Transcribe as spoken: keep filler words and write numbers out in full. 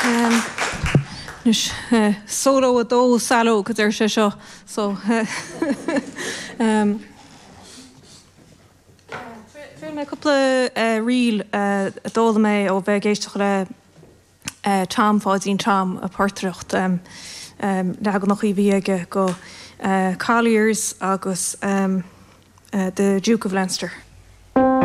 Anois solo a dó Saló go deir sé seo so um, Fuair mé cúpla ríl a d'fhoghlaim mé ó bheith ag éisteacht le Tom Pháidín Tom ag portaireacht um, um, leaganacha a bhí aige go uh, Colliers agus um, uh, the Duke of Leinster.